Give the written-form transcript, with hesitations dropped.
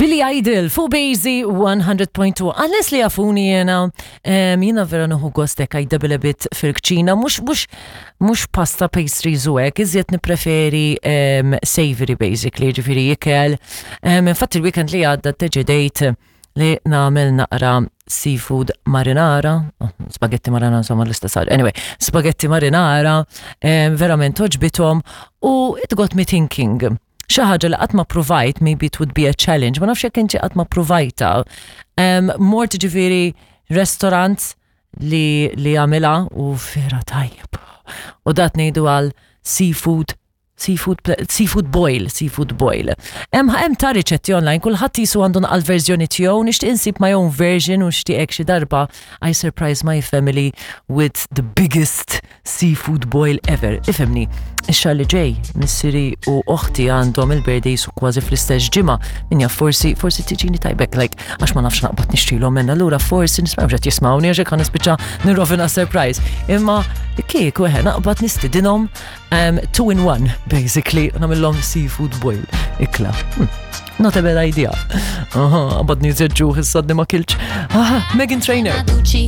Billy Idol fuq Bazy 100.2. Għal-nies li jafuni jena, jena vera nuħu gostek I double a bit fil-kċina, mux, mux, mux pasta pastries u hekk, iżjed nipreferi savory basically, ġifiri ikel. Infatti il-weekend li għadda deċidejt li nagħmel naqra seafood marinara, oh, spaghetti marinara insomma l-istess ħaġa. Anyway, spaghetti marinara, verament oġbithom u it got me thinking. Xi ħaġa li qatt ma provajt, maybe it would be a challenge, ma nafx jekk inti qatt ma provajta. Mort ġifieri restaurant li li għamilha u vera tajjeb. U dat ngħidu għal seafood Seafood, seafood boil, seafood boil. Hemm hemm ta' riċetti online, kulħadd jisu għandu naqal verżjoni tiegħu, nixtieq insib my own version u nixtieq xi darba I surprise my family with the biggest seafood boil ever. Ifhimni, ix-xahar li ġej, missieri u oħti għandhom il-birthdays u kważi fl-istess ġimgħa. Min jaf forsi forsi tiġini tajbek like għax ma nafx naqbad nixtrilhom minn allura forsi nismgħu qed jismgħuni għax hekk nispiċċa nirrovina surprise. Imma kieku eħe naqbad nistidinhom Um, two in one, basically, namillom seafood boil, ikla. Not a bad idea. Aha, għabadni zedġu, ħissadni ma kilċ. Aha, Megan Trainer.